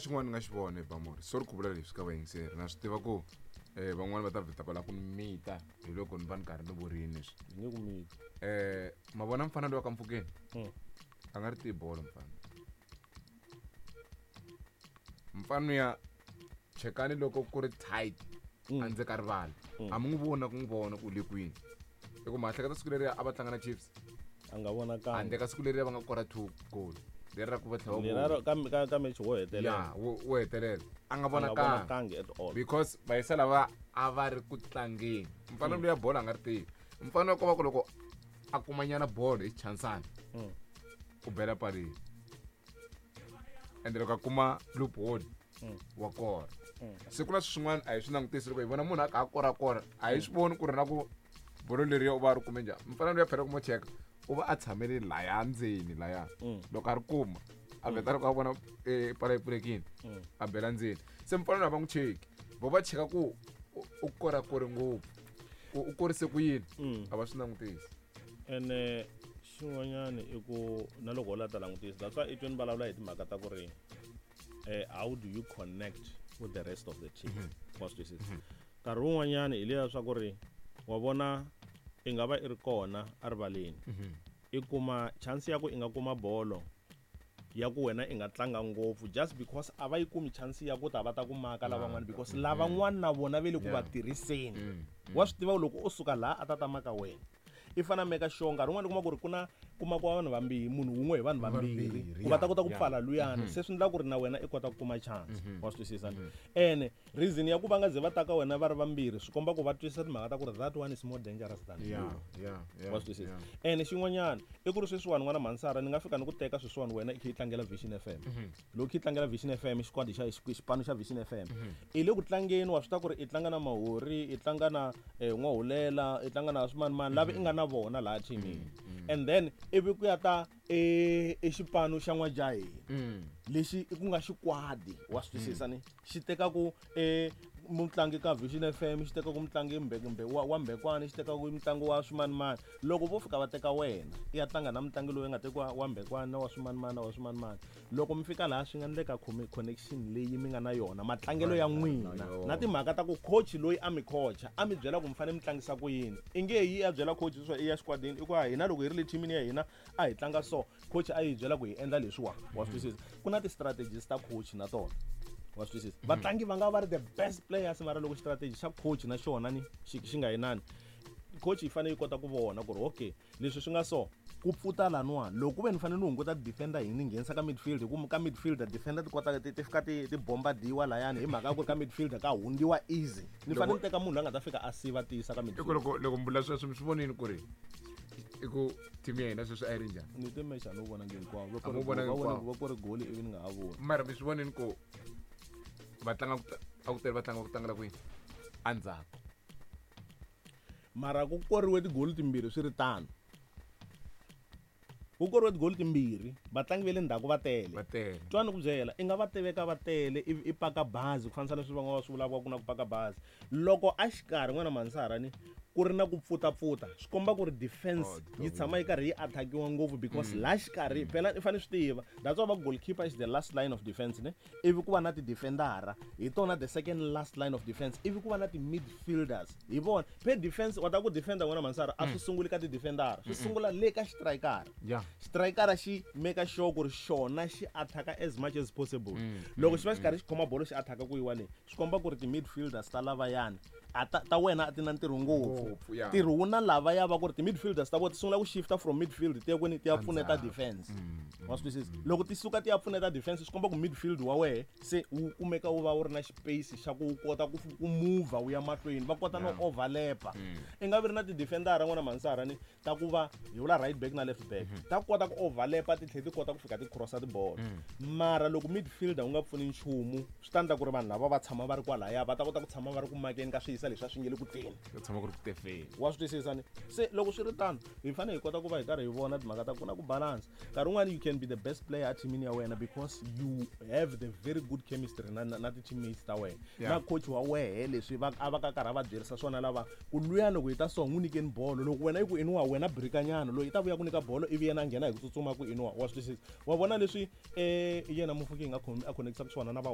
Xin'wana ni nga xi vona hi Bamori, sorry ku vula leswi ka vayingiseri, na swi tiva ku van'wani va ta vheta va lava ku ni mita hi loko ni va ni karhi ni vurini leswi. Ni nge ku miti. Ma vona mfana loyi wa ka Mfukeni? A nga ri tivi bolo mfana. Mfana ya chekani loko ku ri tight andzeni ka rivala. A mi n'wi voni na ku n'wi vona ku u le kwini. I ku ma hleketa siku leriya a va tlanga na Chiefs. A nga vonakanga. Handle ka siku leriya va nga kora 2 goal. Leri ra ku va tlhela va Lera vona. ka match wo hetelela. Ya, wo hetelela. A nga A nga vonakangi. vonakangi at all. Because vayisa lava a va ri ku tlangeni. Mfana luya bolo a nga ri tivi. Mfana ko va ku loko a kumanyana bolo hi chansana. U bela palini. Ende loko a kuma loophole wa kora. Se ku na swin'wana a hi swi langutisi loko hi vona munhu a kha a korakora, a hi swi voni ku ri na ku bolo leriya u va a ri kume njhani. Mfana luya phela ku mo cheka, u va a tshamele laya ndzeni laya. Loko a ri kuma, a vheta loko a vona pala yi pfulekile, a bela ndzeni. Se mfana luya va n'wi cheki. Vo va cheka ku u korakore ngopfu. U korise ku yini? A va swi langutisi. Ene xin'wanyana i ku na loko u la ta langutisa, that's why i tweni vulavula hi timhaka ta ku ri how do you connect with the rest of the team? Wa swi twisisa? Nkarhi wun'wanyana hi leya swa ku ri wa vona i nga va i ri kona erivaleni. I kuma chance ya ku i nga kuma bolo ya ku wena i nga tlanga ngopfu just because a va yi kumi chance ya ku ta va ta ku maka lavan'wana because lavan'wana na vona ve le ku va tirhiseni. Wa swi tiva loko u suka laha a ta ta maka wena. I fana meka sure nkarhi wun'wani u kuma ku ri ku na kuma ku vanhu vambirhi, munhu wun'we hi vanhu vambirhi, Vambirhi, ku va ta kota ku pfala luyani. Se swi endla ku ri na wena i kota ku kuma chance. Wa swi twisisa? Ene reason ya ku va nga ze va ta ka wena va ri vambirhi swi komba ku va twisisa timhaka ta ku ri that one is more dangerous than you. Wa swi twisisa? Ene xin'wanyana i ku ri sweswiwani n'wana Mansara ni nga fika ni ku teka sweswiwani wena i kha i tlangela Vision FM. Loko i kha i tlangela Vision FM, xikwadi xa xipano xa Vision FM. I le ku tlangeni wa swi tiva ku ri i tlanga na Mahori, i tlanga na N'wahulela, i tlanga na swimanimani lava i nga na vona laha teamini. And then ivi ku ya ta e xipano xa N'wajaheni. Lexi ku nga xikwadi, wa swi twisisa ni? Xi teka ku mutlangi ka Vision FM, xi teka ku mutlangi wa Mbekwane, xi teka ku mutlangi wa swimanimani. Loko vo fika va teka wena, i ya tlanga na mutlangi loyi nga tekiwa wa Mbekwane na wa swimanimani na wa swimanimani. Loko mi fika laha swi nga endleka connection leyi mi nga na yona, matlangelo ya n'wina na timhaka ta ku coach loyi a mi coacha, a mi byela ku mi fanele mi tlangisa ku yini. I nge yi a byela coach leswaku i ya xikwatini, i ku a hina loko hi ri le teamini ya hina a hi tlanga so, coach a yi byela ku hi endla leswiwa. Wa swi twisisa? Ku na ti-strategies ta coach na tona. Wa swi twisisa? Vatlangi va nga va ri the best players mara loko strategy xa coach na xona ni xi nga yinani, coach yi fanele yi kota ku vona ku ri okay, leswi swi nga so ku pfuta laniwani, loko ku ve ni fanele ni hunguta defender hi ni nghenisa ka midfield, hi ku ka midfielder defender ti kota ti fika ti bombardiwa layani hi mhaka ya ku ri ka midfielder ka hundziwa easy. Ni fanele ni teka munhu loyi a nga ta fika a siva tiyisa ka midfield. Loko mi vula sweswo mi swi vonile ku ri i ku team ya hina sweswi a yi ri njhani? Ni te match a ni wu vonangi hinkwawo. Va A mu vonangi hinkwawo. Va kore goal ivi ni nga ha voni. Mara mi swi vonile ku va tlanga ku a ku tele va tlanga ku tlangela kwini? Endzhaku. Mara ku koriwe tigoli timbirhi swi ri tano. Ku koriwe tigoli timbirhi, vatlangi va le ndzhaku va tele. Va tele. Twa ni ku byela, i nga va tiveka va tele ivi i paka bazi ku fanisa leswi van'wana va swi vulaka ku na ku paka bazi. Loko a xikarhi n'wana Mansara ni ku ri na ku pfutapfuta, swi komba ku ri defense Oh, yi tshama yi karhi yi attackiwa ngopfu because laha xikarhi phela i fanele swi tiva. That's why va goalkeeper is the last line of defense ne. Ivi ku va na ti-defendera, hi tona the second last line of defense. Ivi ku va na ti-midfielders, hi vona. Phe defense, wa ta ku defender n'wana Mansara, a swi sunguli ka ti-defendera, swi sungula le ka xitrikara. Xitrikara xi make sure ku ri xona xi attacka as much as possible. Loko xi va xi karhi xi khoma bolo xi attacka ku yiwa le, swi komba ku ri ti-midfielders ta lavayani, a ta wena a ti na ntirho ngopfu. Ngopfu, ya. Ntirho wu na lavaya va ku ri ti-midfielders ta vona ti sungula ku shifta from midfield ti ya kwini, ti ya pfuneta Endzhaku. defense. Wa swi twisisa? Loko ti suka ti ya pfuneta defense, swi komba ku midfield wa wehe se wu kumeka wu va wu ri na space xa ku kota ku move wu ya mahlweni, va kota no overlap-a. I nga vi ri na ti-defendera n'wana Mansara ni ta ku va hi vula right back na left back, ta kota ku overlap-a ti tlhela ti kota ku fika ti cross-a tibolo. Mara loko midfielder wu nga pfuni nchumu, swi ta endla ku ri vanhu lava va tshama va ri kwalaya, va ta kota ku tshama va ri ku makeni ka swiyisa leswi a swi nge le ku teni. Va tshama ku ri ku tefeni. Wa swi twisisa ni? Se loko swi ri tano, hi fanele hi kota ku va hi karhi hi vona timhaka ta ku na ku balance. Nkarhi wun'wani you can be the best player a teamini ya wena because you have the very good chemistry na ti-teammates ta wena. Na coach wa wehe leswi a va ka karhi a va byerisa swona lava ku luya loko hi ta so n'wi nyikeni bolo, loko wena yi ku iniwa wena birikanyana, loyi i ta vuya ku nyika bolo ivi yena a nghena hi ku tsutsuma ku iniwa. Wa swi twisisa? Wa vona leswi yena Mofokeng a connectaka swona na va